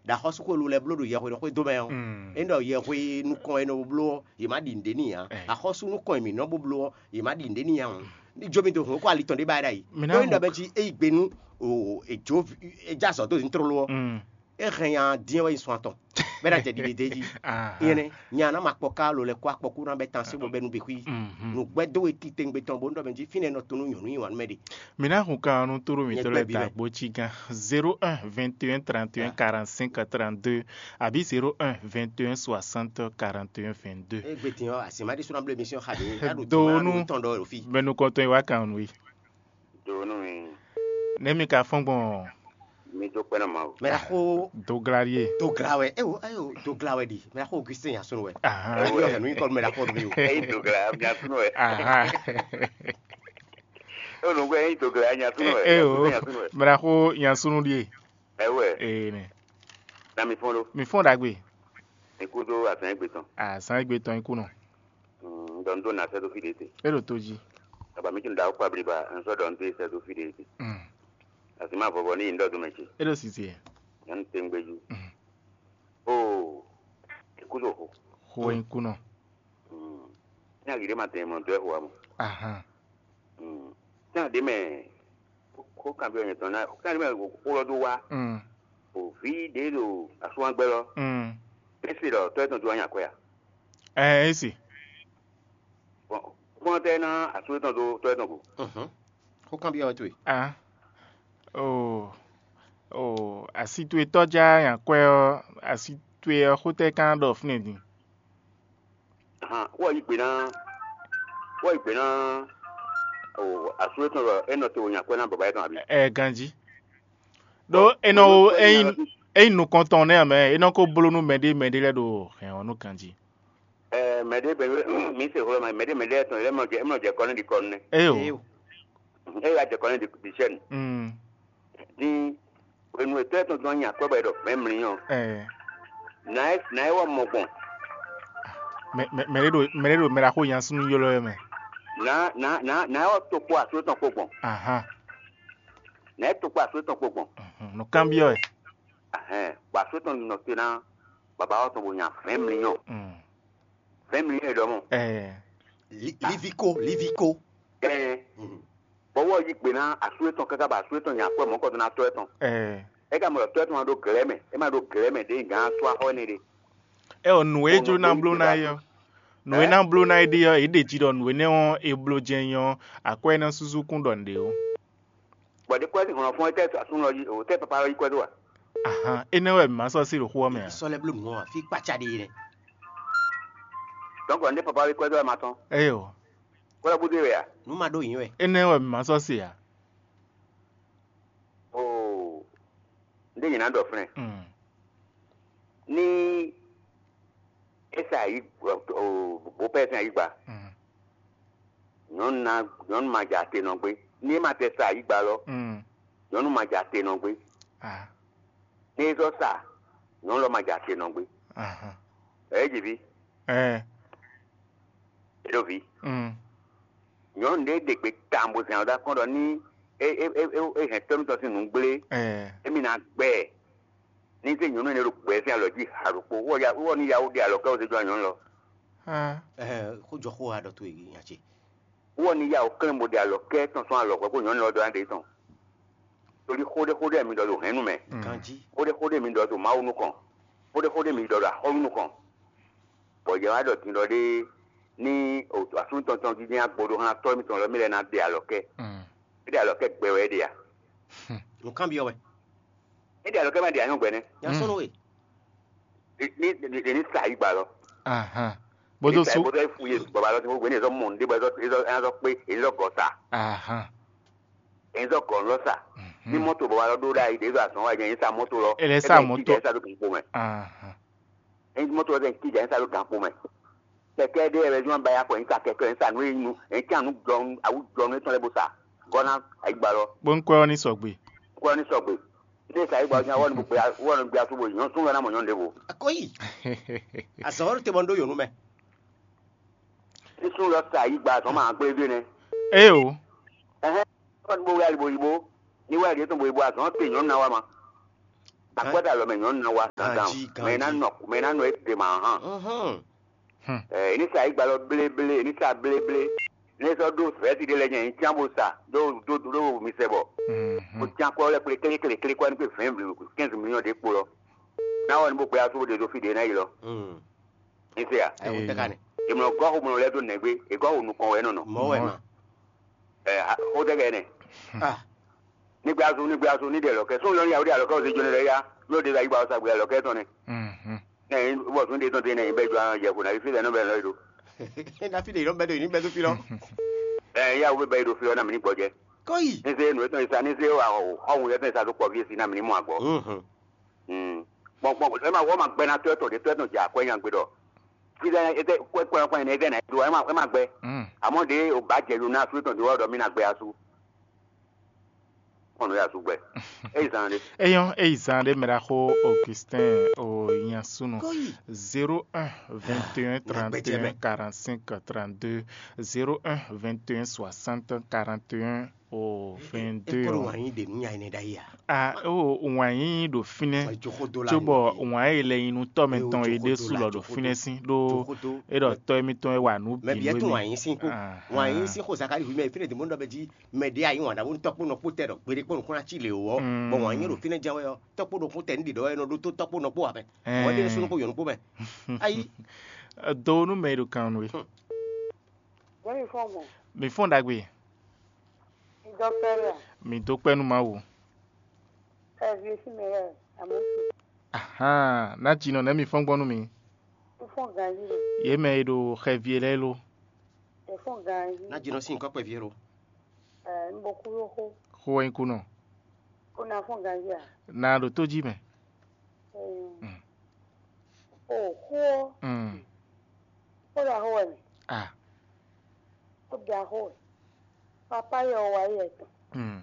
ɖo axɔ́súxwélu lɛ́ɛ bló ɖo yɛhweɖɔxwé dó mɛ ɔ́. Mm. É ɖɔ yɛhwe nukɔn e nɔ bló ɔ́, yě má ɖi nǔɖé n'i ǎ. Ɛ. Axɔ́sú nukɔn e mǐ nɔ bó bló ɔ́, yě má ɖi nǔɖé n'i ǎ hǔn. Ní jó mì dó hǔn é kó ali tɔn ɖé ba é ɖ'ayǐ. Mǐ ná Ɖó é ɖɔ hɔn- bɛ́ jí é yi gbe nú o, è jó vi- è já azɔ̌ dó zǐn tlóló ɔ́, Mm. é hɛn nya dín ɔ́ wɛ nyi sun atɔn, bɔ é ná jɛ ɖiɖe d'é jí. Aha. Nyɛ nɛ́, nya ná ma kpɔ ká lo lɛ́ kó akpɔkú ná bɛ́ tan sí bɔ bɛ́ nú gbe xwí. Mhm. Nǔgbɛ́ dó we titewungbe tɔn bó nɔ mɛ jí fínɛ́ nɔ tɔn nú nyɔ̌nu nyi wǎn nú mɛ ɖe. Mǐ ná hun kan ɔ́ nú tóɖó Nyɛ mǐtɔn gbɛ́ lɛ́ɛ bǐ da wɛ. Agbo cí gán zéro un vingt et un trente et un quarante-cinq trente-deux, abǐ zéro un vingt et un soixante quarante et un vingt-deux. É gbe din ɔ́, asi ma ɖésú ná bló émission xa ɖě. Ká ɖo Do tɔn nú ná ɖo tɔn ɖɔ ɖo fí. Mɛ nukɔntɔn e wá kan nú we. Do nú mi. Nɛ̌ mi ka fɔ́n gbɔn? Mi dó kpɛ́ nɔ Mawu. Mɛ ɖaxó Dogla ɖíe. Dogla wɛ. Ewo, ewo, Dogla wɛ ɖi. Mɛ ɖaxó Augustin Yasunu wɛ. Ahan. Ewo, yɔ hɛn nú nyikɔ mɛ ɖaxó mi o. Eyi Dogla, mi asunu wɛ. Ahan. Ewo, nùgbɛ eyi Dogla, mi asunu wɛ. Ewo, mi asunu wɛ. Mɛ ɖaxó Yasunu ɖíe. Ewo. Ee nɛ. Na mi fɔn ɖo. Mi fɔn ɖagbe. Mi kú dó azán égbé tɔn. Azán égbé tɔn ikú nɔ. Mm, ɖɔ n ɖó na sɛ́ dó fí ɖě te. É ɖo tó jí. Baba mi tún ɖa wó kpa bliba, n sɔ́ ɖɔ n ɖó sɛ́ dó fí ɖě te. Mm. Asi ma vɔvɔ ní yi n ɖɔ dó mɛ ce. É ɖo sisi. Nyɔnu tɛngbɛju. Mm. Oo, ikú ɖo xo. Xo wɛ ikú nɔ. Mm. Ní ayi ɖé ma tɛn mɔ dó ɛ xo wa mɔ. Ahan. Mm. Ní aɖé mɛ, xó kan bí ɔnyɛ tɔn ná, xó kan ɖé mɛ xó lɔ dó wá. Mm. O vi ɖé ɖo asúnwágbɛ lɔ. Mm. Esi ɖɔ tɔ́ etɔn dó wá nya kwɛ a? Ɛ esi. Bɔn kpɔ́n tɛ ná asú etɔn dó tɔ́ etɔn go. Mhm. Xó kan byɔ́ wɛ towe. Ah. Oh. Oh, asi towe tɔ́ já nya kwɛ ɔ́, asi towe ɔ́ xó tɛ kan ɖɔ fúnɛ din. Ahan, wɔ yi gbe ná, wɔ yi gbe ná o asú etɔn ɖɔ é nɔ te wò nya kwɛ ná baba etɔn abi. Ɛ ganjí. Ɖó é nɔ wo é nyí é nyí nukɔntɔn nɛ́ amɛ, é nɔ ko bló nú mɛɖé mɛɖé lɛ́ɛ ɖo hɛn ɔ́ nú ganjí. Ɛ mɛɖé bɛ mi se xlɔ́ ma mɛɖé mɛɖé etɔn lɛ́ɛ mɔ jɛ mɔ jɛ kɔnɛ ɖi kɔnɛ. Eyo. Eyo. E ya jɛ kɔnɛ ɖi ɖi sɛn. Mm. Din hwenu e tɔ́ etɔn dɔn nyi akwɛ́ bɔ è ɖɔ vɛ̌ɛn mlí ɔ́, Ɛɛ. Nǎ é nǎ é wɔ mɔ gbɔn. Mɛ mɛ mɛ ɖé ɖo mɛ ɖé ɖo mɛ ɖaxó nya súnnu ylɔ́ wɛ mɛ. Nǎ nǎ nǎ nǎ é wɔ tokpo asú etɔn kpo gbɔn. Ahan. Nǎ é tokpo asú etɔn kpo gbɔn. Mhm. Nǔkanbyɔ́ wɛ. Ahɛn bɔ asú etɔn nɔ te ná baba ɔ́ tɔn bo nya vɛ̌ɛn mlí ɔ́. Mm. Vɛ̌ɛn mlí ɔ́ è ɖɔ mɔ. Ɛɛ. Li- liviko liviko. Ɛɛ. Mhm. Bɔ wɔ yí gbe ná asú etɔn káká bɔ asú etɔn nya akwɛ́ mɔ̌kɔtɔn ná tɔ́ etɔn. Ɛɛ. É ka mɔ ɖɔ tɔ́ etɔn ma ɖó glɛ̌ mɛ, é ma ɖó glɛ̌ mɛ ɖěe gǎn asú axɔ́ énɛ́ ɖe. Ɛ ɔ nǔ e Bɔ jó ná mɔ̌ bló ná é ɔ́, nǔ e ná bló ná é ɖe ɔ́, é ɖě jí ɖɔ nǔ énɛ́ ɔ́ é bló jɛ́n nyí ɔ́, akwɛ́ é ná súsú kún ɖɔ nǔɖé ó. Bɔ ɖě kwɛ́ sín hlɔ̌nfɔ́n étɛ́ asú lɔ yí o tɛ́ papa lɔ yí kwɛ́ dó a? Ahan, énɛ́ wɛ mǐ ma sɔ́ sí ɖo xó ɔ́ mɛ ǎ. Sɔ́ lɛ́ bló nǔ ɔ́, fí kpácá ɖe é nɛ́. Dɔ̌nkɔ ndé papa lɔ yí kwɛ́ dó wɛ ma tɔ́n. Éyo. Kwɛ́ lɔ búdé wɛ a? Nǔ ma ɖó yǐn wɛ. Énɛ́ wɛ mǐ ma sɔ́ sí ǎ. Oo, ndé nyě ná ɖɔ flɛ́n. Mm. Ní é sa ayǐ bopɛ́ sín ayǐgba, Mm. Nyɔ̌nu ná nyɔ̌nu ma jɛ ate nɔ gbé. Ní é ma tɛ sa ayǐgba lɔ, Mm. Nyɔ̌nu ma jɛ ate nɔ gbé. Ah. Ní é zɔ́ sa, nyɔ̌nu lɔ ma jɛ ate nɔ gbé. Ahan. Ɛ é ji ví, Ɛ. É ɖo ví. Mm. Nyɔ̌nu ɖé ɖe gbe tawun bó zɛn ɔ́ ɖó akɔ́n ɖɔ ní é é é é é hɛn tɔ́ mitɔn sín nǔ gblé, Ɛɛ. émí ná gbɛ ɛ. Ní zé nyɔ̌nu énɛ́ ɖo gbɛ sín alɔ jí ha ɖokpó, wɔ ya wɔ ní yawo ɖe alɔ kɛ wozé jɔ nyɔ̌nu lɔ. Hã. Ɛhɛn, xó jɔ xó ha ɖɔ towe nya ce. Wɔ ní yawo klɛ́n bó ɖe alɔ kɛ tɔn sɔn alɔ hwɛ kó nyɔ̌nu lɔ dɔ ná ɖe tɔn. Torí xó ɖé xó ɖé mi ɖɔ ɖo hɛ̌nnu mɛ. Mm. Ganjí. Xó ɖé xó ɖé mi ɖɔ ɖo Mawu nukɔn. Xó ɖé xó ɖé mi ɖɔ ɖo axɔ́nú nukɔn. Bɔ yɛ wá ɖɔ din ɖɔ ɖé ní asúnú tɔn tɔn dídí agbo ɖó hán tɔ́ mitɔn lɔ mí lɛ́ ná ɖe alɔ kɛ. Mm. É ɖe alɔ kɛ gbɛ wɛ é ɖe a? Nǔkanbyɔ́ wɛ. É ɖe alɔ kɛ má ɖe anyɔ́ gbɛ nɛ́. Nya sɔ́ nú we. Ní ní ní sa yí gba lɔ. Ahan. Bó Ní tó sa sú. Bó tó fú yé bɔbá lɔ tí mo gbé ní èzɔ mɔ ní bɔ èzɔ èzɔ èzɔ pé èzɔ gɔ sa. Ahan. Èzɔ gɔ lɔ sa. Ní mɔto bɔbá lɔ ɖó ɖá yìí èzɔ azɔn wa jẹ èzɔ mɔto lɔ. Èlé sa mɔto. Èzɔ sa ló kún kpó mɛ. Ahan. Èzɔ mɔto lɔ tɛ kí jẹ èzɔ ló gán kpó mɛ. Kɛkɛ ɖé yɛ bɛ zɔn ba ya kɔ èzɔ kɛkɛ èzɔ nu èyí nu èzɔ nu jɔnu awu jɔnu ètò lɛ bó sa. Gɔna ayigba lɔ. Bó ń kɔ́ ọ́ ní sɔgbe. Kɔ́ ọ́ ní sɔgbe. Ní èsà yí gba ɔ́ wɔ ní gbé wɔ ní gbé asú bó nyɔ́ sún lɔ ná mɔ nyɔ́nu ɖěvo. Akɔyi. Azɔ̌ ɔ́ te bɔ ń ɖó yǒnú mɛ. Ní sún lɔ sa yí gba azɔ̌ ma gblé dó nɛ. Ée o. Ɛhɛn. Wɔ ní bó wɛ alibo yibo. Ní wɛ alibo tɔn bo yibo azɔ̌ te nyɔ́nu ná wa ma. Akwɛ́ta lɔ mɛ nyɔ́nu ná wa gangan. Mɛ ná nɔ mɛ ná nɔ é te ma hàn. Ɛ ní sa yí gba lɔ bléblé, ní sa bléblé. Ní sɔ́ ɖó vɛ̌si ɖé lɛ́ɛ nyɛ nyí cyán bó sa ɖó ɖó ɖó mi sɛ bɔ. Bó cyán kɔ lɛ́ kplé klékléklé kɔ ní kpé vɛ̌ɛn quinze millions ɖé kpo lɔ. Ná wɔ ní bó gbé asú bó ɖe ɖó fí ɖé ná yi lɔ. Ní se a? Ɛ wọ́n tẹ́ ka nɛ. Ìmọ̀ gɔ́ xomlɔ lɛ́ dó nɛgbé, è gɔ́ xo nukɔn wɛ nɔ nɔ. Mɔ̌ wɛ ma. Ɛ xó tẹ́ kɛ nɛ. Ah, Ní gbé asú, ní gbé asú, ní ɖe lɔ kɛ. Sún lɔ ní yàwó ɖe alɔ kɛ ɔ́ zé jónɛ lɛ yá. Ní o ɖe ayíba ɔ́ sa gbé alɔ kɛ tɔn nɛ. Nɛ bɔ sún ɖe tɔn te nɛ bɛ jɔ yɛ ko na fi lɛ nɔ bɛ lɔ yi ɖo. Na fi ɖe yìí lɔ bɛ ɖo yìí ní bɛ ɖo fi lɔ. Ɛ yàwó bɛ bɛ yi ɖo fi lɔ na mi ní gbɔjɛ. Kɔyi. Ní se nu etɔn yi sa ní se wa xɔhun etɔn yi sa tó kpɔ vi esi na mi ní mɔ agbɔ. Gbɔn gbɔn ɛ ma wɔ ma gbɛ na tɔ etɔn de tɔ etɔn dza akwɛ nya gbe dɔ. Fi lɛ etɛ kwɛ kwɛ kwɛ ne etɛ na do ɛ ma ɛ ma gbɛ. Amɔ de o ba jɛ yo na su etɔn de wɔ dɔ mi na gbɛ asu. Kɔn ya su gbɛ. Eyi zan de. Eyɔn eyi zan ɖe mɛ ɖaxó Augustin o nya súnɔ. Kɔyi. Zéro un vingt et un trente et un quarante-cinq trente-deux, zéro un vingt et un soixante quarante et un o vingt-deux. Ekɔlu wǎn yí ɖe nú nya énɛ́ ɖ'ayǐ a? A o wǎn yí ɖo fínɛ́. Joxodo la cóbɔ wǎn yi lɛ nyi nú tɔ́ mɛtɔn e ɖésú lɔ ɖo fínɛ́ sín ɖó é ɖɔ tɔ́ émítɔn e wa nǔ bǐ mɛ bǐ nú tún wǎn émí. Yí sín kú. Wǎn yí sín xo Zakari ví mɛ fínɛ́ dě mɔ̌ ɖɔ bɛ jí mɛ ɖě ayí wǎn ɖaxó nú tɔ́kpó nɔkpó tɛ ɖɔ gbeɖé kpɔ́n nukúnná cí lě wú ɔ́, bɔ wǎn nyí ɖo fínɛ́ jɛ́n wɛ ɔ́, tɔ́kpó ɖokpó tɛ ní ɖě ɖɔ wɛ nɔ ɖótó tɔ́kpó nɔkpó ǎ mɛ. Mɔ̌ ɖé nú súnnu kpó yɔ̌nu kpó mɛ. Ayi. Do nú mɛ e ɖo kan nú we. Bóyá fún ọmọ, Mi fɔ́n ɖagbe. Dɔkítɔ́, Mi dó kpɛ́ nú Mawu. Xɛvi e sín mɛ wɛ, àmọ́ Ahan, ná jinɔ nɛ̌ mi fɔ́n gbɔn nú mi? Fún ganjí rẹ̀. Yě mɛ e ɖo xɛvi e lɛ́ɛ lo. Ɛ fún ganjí. Ná jinɔ sín nyǐkɔ kpɛví é lo. Ɛ ń bo kú ló xó. Xó wɛ nyí kú nɔ. Kó ná fún ganjí à? Ná ɖo tó jí mɛ. Ɛ. Mm. O xó ɔ́. Mm. Ó ɖo axó wɛ mɛ. Ah. Ó ɖo axó wɛ. Papá yɛ ɔ wá yɛ tɔn. Mm.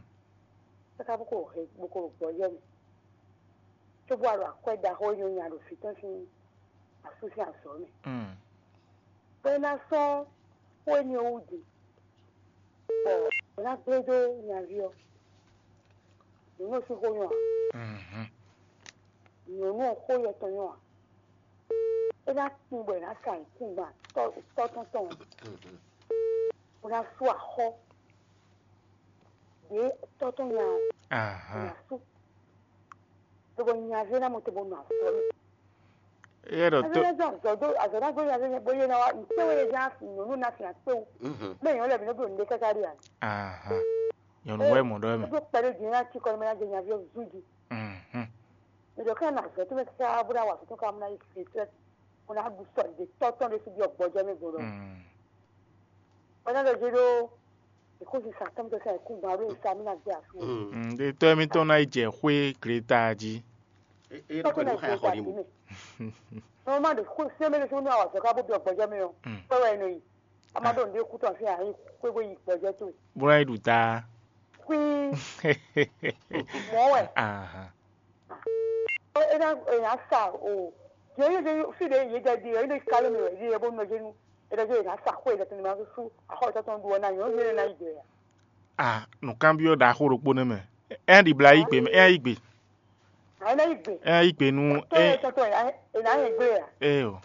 Káká bó ko hɛn bó ko ɖo gbɔjɛ́ mɛ. Cóbó wá ɖo akwɛ́ ɖaxó e nɔ nya ɖo vǐ tɔn sín asú sín azɔ̌ mɛ. Mm. Bɔ é ná sɔ́ xó énɛ́ ɔ́ wú din, bɔ é ná gblé dó nyaví ɔ́. Nyɔ̌nu ɔ́ sín xó nyɔ́ ǎ. Mhm. Nyɔ̌nu ɔ́ xó yɛ tɔn nyɔ́ ǎ. É ná kpin bɔ è nǎ sa nyǐkúngban tɔ́ tɔ́ tɔn tɔn. Bó ná sú axɔ́. Ɖě tɔ́ tɔn nya ɔ́, Ahan. Nya sú. Lobo nya ví ná mo te bo nɔ azɔ̌ mɛ. Yɛ ɖɔ Azɔ̌ tó. Ná zɔn azɔ̌ dó azɔ̌ ná gbé nya ví bó yé ná wá ntɛ́ wé yé zán nyɔ̌nu ná fin akpé wú. Mɛ nyɔ̌nu lɛ́ɛ bǐ nɔ bí òní ɖé káká ɖi ǎ. Ahan. Nyɔ̌nu wɛ mɔ ɖɔ mɛ. Dó kpɛɖé din ná cikɔ mɛ ná jɛ nya ví ɔ́ zú di. Mhm. Mɛ ɖɔ ká na azɔ̌ tó mɛ káká bó ná wa azɔ̌ tó ká mú ná yí fèsì. Mo ná ɖu sɔ ɖe tɔ́ tɔn ɖé síbi ɔgbɔjɛ mɛ gbɔdɔ. Mm. Bana ɖɔ dzi ɖó ìkúzi sa tɔn tó sɛ ìkú gba ɖó ìsa mi ná gbé asu. Mm, ɖe tɔ́ émítɔn ná yi jɛ xwé Kreta jí. Tɔ́ tɔn ná gbé ìsa mi. Nɔmɔ ɖe xwé sɛ mɛ ɖe sɛ mi ná wà sɔ ká bó bi ɔgbɔjɛ mɛ ɔ. Mm. Kpɛ wɛ nɔ yi. Ama ɖo ŋɖe kú tɔn fí ayi xwé bó yi gbɔjɛ tó. Bó ná yi ɖu ta. Xwí. Mɔ wɛ. Ahan. Ena ena sa o. Yɛ yɛ fi de yɛ jɛ di yɛ ne kalo mi wɛ di yɛ bo nɔ jenu. Ena jɛ ena sa ko ena tun ma su. Aho ta tun duwa na yo yɛ na ide ya. Ah, nǔkanbyɔ́ ɖaxó ɖokpó nɛ́ mɛ. Ɛ ɖi bla yí gbe mɛ, ɛ yí gbe. Ɛ ná yí gbe. Ɛ yí gbe nú. Tó ɛ tɔtɔ ɛ ná yɛ gbe ya. Ɛ o.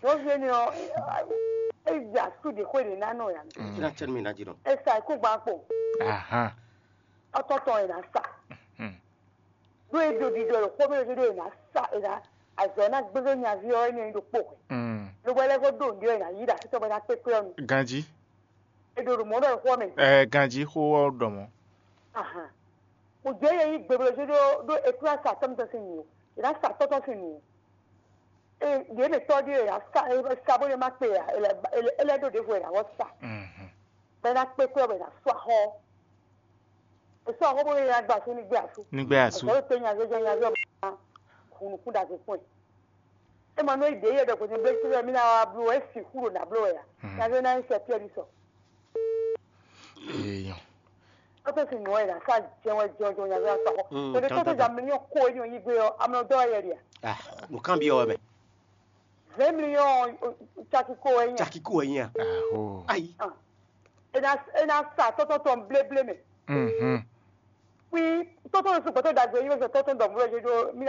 Tó fi ni ɔ, ɛ ya su de xwe de na nɔ ya. Kí ná tẹ́ mi ná jí nɔ. Ɛ sa ikú gba kpo. Ahan. Ɔtɔtɔ ɛ ná sa. Ɖó e ɖo ɖiɖɔ ɖo xó mɛ ɖo ɛ ná sa ɛ ná azɔ ná gbégbé nyaví ɔ ɛ ní ɖo kpo. Lobɔ ɛ lɛ ko ɖo nɖi ɔ ɛ ná yí ɖo asítɔ bɔ ɛ ná kpékpé ɔ nu. Ganjí. E ɖo ɖo mɔ ɖɔ xó mɛ. Ɛ ganjí xó ɔ ɖɔ mɔ. Ahan. Kò jẹ́ yɛ yí gbebló jó ɖó ɖó ekúrá sa tɔ́ mitɔn sín nǔ ó. È nǎ sa tɔ́ tɔn sín nǔ ó. Eye yě mɛ tɔ́ ɖíe è nǎ sa é sa bó ɖé má kpe ǎ, è lɛ́ è lɛ́ é lɛ́ ɖó ɖěvo è nǎ wɔ sa. Bɔ é ná kpé kwɛ́ bɔ è nǎ sú axɔ́. È sú axɔ́ bó ɖé è nǎ gba asú ní gbé asú. Ní gbé asú. Bɔ é tɛ nya zɔ́ nya zɔ́ bɔ é ná hu nukún ɖagbe kpɔ́n ɛ. É ma nɔ yi ɖě yɛ ɖɔ gbɔn nyɛ blé mí ná wá bló wɛ é sixú ɖo nǎ bló wɛ ǎ. Nya zɔ́ é ná nyí sɛ Piɛ́li sɔ. Èèyàn. Tɔ́tɔ́ sin nǔ ɔ́ è nǎ sá jɛ́n wɛ jɛ́n jɛ́n nya zɔ́ ná sɔ́ xɔ. Tɔ́tɔ́ ja mlíɔ́n kó é nyɔ́ yí gbé ɔ́, amlɔ dɔ́ wɛ yɛ ɖe a? Ah, nǔkanbyɔ́ wɛ mɛ. Zɛ̌n mlíɔ́n caki kó wɛ nyí a? Caki kó wɛ nyí a? Ayi. È nǎ è nǎ sa tɔ́tɔ́ tɔn bléblé mɛ. Kpí tɔ́tɔ́ lɔ sɔ́ gbɛtɔ́ ɖagbe yí wɛ sɔ tɔ́tɔ́ ɖɔ mlɔ́ jɛ́jɔ́ mí